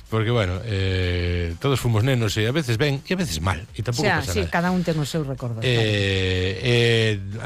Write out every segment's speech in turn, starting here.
porque, bueno, todos fomos nenos e a veces ben e a veces mal, e tampouco pasa nada. Cada un ten os seus recordos.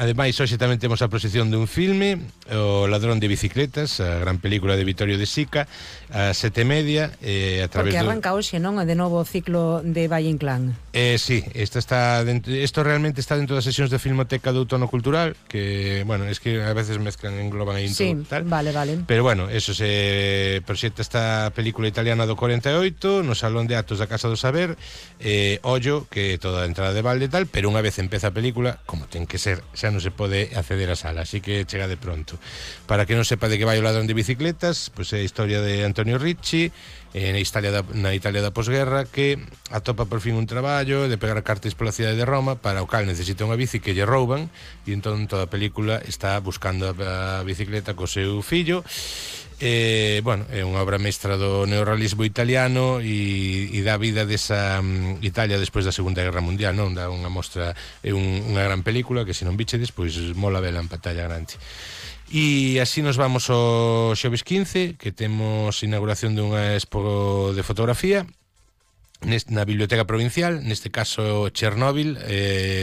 Ademais, hoxe tamén temos a proxección dun filme, O ladrón de bicicletas, a gran película de Vittorio De Sica, a 7:30, a través porque arranca hoxe, non? De novo o ciclo de Valle Inclán. Sí, isto realmente está dentro das sesións de Filmoteca do Outono Cultural, que, bueno, es que a veces mezclan, engloban aí sí, tal. Vale. Pero, bueno, eso se proxecta esta película italiana do 48 no Salón de Actos da Casa do Saber. Ollo, que toda a entrada de balde e tal, pero unha vez empeza a película, como ten que ser, xa non se pode acceder á sala, así que chega de pronto. Para que non sepa de que vai O ladrón de bicicletas, pois é a historia de Antonio Ricci na Italia da posguerra, que atopa por fin un traballo de pegar cartas pola cidade de Roma, para o cal necesita unha bici que lle rouban, e entón toda a película está buscando a bicicleta co seu fillo. Bueno, é unha obra mestra do neorrealismo italiano e dá vida desa Italia despois da Segunda Guerra Mundial, non? Dá unha mostra, é unha gran película que se non bichedes, pois mola vela en pantalla grande. E así nos vamos ao xoves 15, que temos inauguración dunha expo de fotografía na Biblioteca Provincial, neste caso Chernóbil,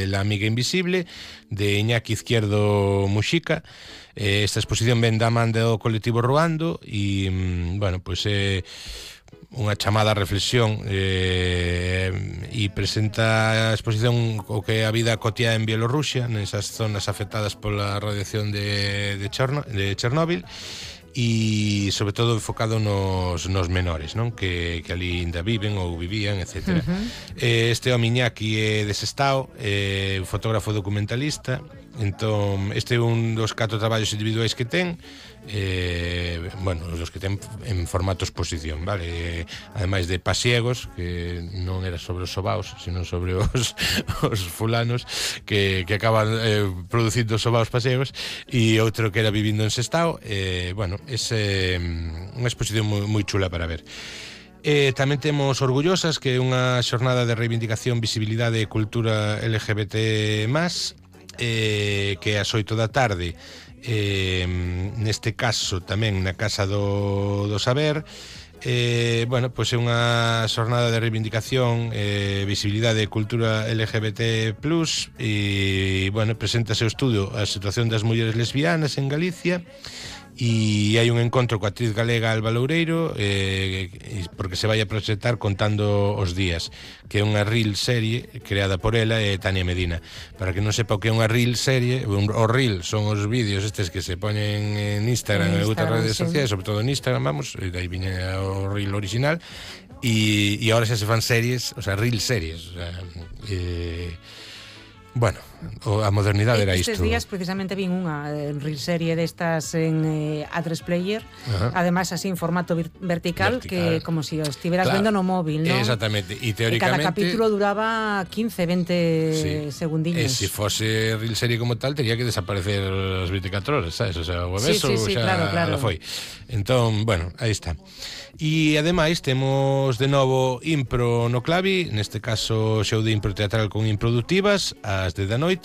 La amiga invisible, de Iñaki Izquierdo Muxica. Esta exposición ven da man do colectivo Ruando e, bueno, pois é unha chamada a reflexión e presenta a exposición o que é a vida cotiá en Bielorrusia, nesas zonas afectadas pola radiación de Chernóbil, e sobre todo enfocado nos menores, non? Que ali ainda viven ou vivían, etc. Este home Iñaki é desestao, un fotógrafo documentalista. Entón, este é un dos 4 traballos individuais que ten, bueno, os que ten en formato exposición, vale? Ademais de Pasiegos, que non era sobre os sobaos, sino sobre os fulanos que acaban producindo sobaos pasiegos, e outro que era Vivindo en Sestao. Bueno, é unha exposición moi chula para ver. Tamén temos Orgullosas, que é unha xornada de reivindicación, visibilidade e cultura LGBT+, que é ás 8 da tarde, neste caso tamén na Casa do Saber. Bueno, pois é unha xornada de reivindicación, visibilidade e cultura LGBT+, e, bueno, preséntase o estudo a situación das mulleres lesbianas en Galicia, e hai un encontro coa actriz galega Alba Loureiro, porque se vai a proxectar Contando os días, que é unha reel serie creada por ela e Tania Medina. Para que non sepa o que é unha reel serie, o reel son os vídeos estes que se poñen en Instagram e outras redes sociais, sobre todo en Instagram, vamos, e dai viña o reel original, e agora xa se fan series, o sea, reel series, o sea, bueno, a modernidade era isto. Estes días precisamente vin unha serie destas en A3 Player, ademais así en formato vertical, que como se si estiveras vendo no móvil, non? Exactamente, e teóricamente cada capítulo duraba 15-20 segundinhos. Se fose real serie como tal, tería que desaparecer as 24 horas, sabes? O sea, o beso xa claro. Foi. Entón, bueno, aí está. E ademais temos de novo impro no Clavi, neste caso show de impro teatral con improductivas ás 10 da noite.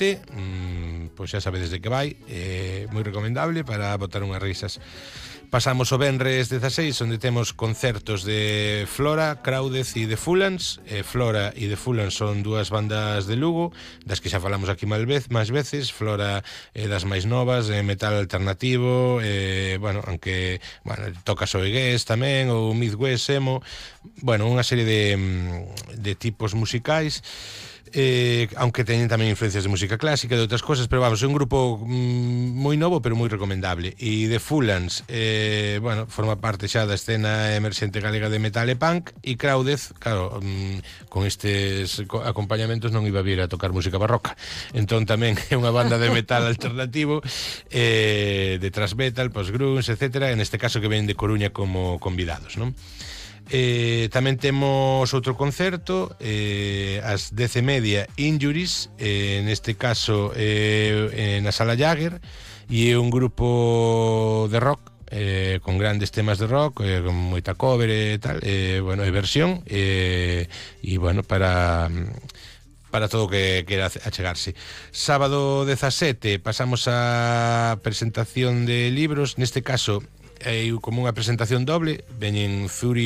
Pois xa sabedes de que vai, moi recomendable para botar unhas risas. Pasamos o venres 16, onde temos concertos de Flora, Craudez e The Fulans. Flora e The Fulans son dúas bandas de Lugo, das que xa falamos aquí máis veces. Flora é das máis novas, metal alternativo, bueno, aunque toca Soegués tamén, ou Midwest, emo, bueno, unha serie de tipos musicais. Aunque teñen tamén influencias de música clásica e de outras cosas, pero vamos, é un grupo moi novo pero moi recomendable. E The Fulans, bueno, forma parte xa da escena emerxente galega de metal e punk. E Craudez, claro, con estes acompañamentos non iba a vir a tocar música barroca, entón tamén é unha banda de metal alternativo, de thrash metal, post-grunge, etc. En este caso que ven de Coruña como convidados, non? Tamén temos outro concerto ás 10:30, Injuries, neste caso na Sala Jagger, e é un grupo de rock con grandes temas de rock, con moita cover e tal, bueno, e versión, e bueno, para todo o que quera achegarse. Sábado 17 pasamos a presentación de libros, neste caso é como unha presentación doble, veñen Zuri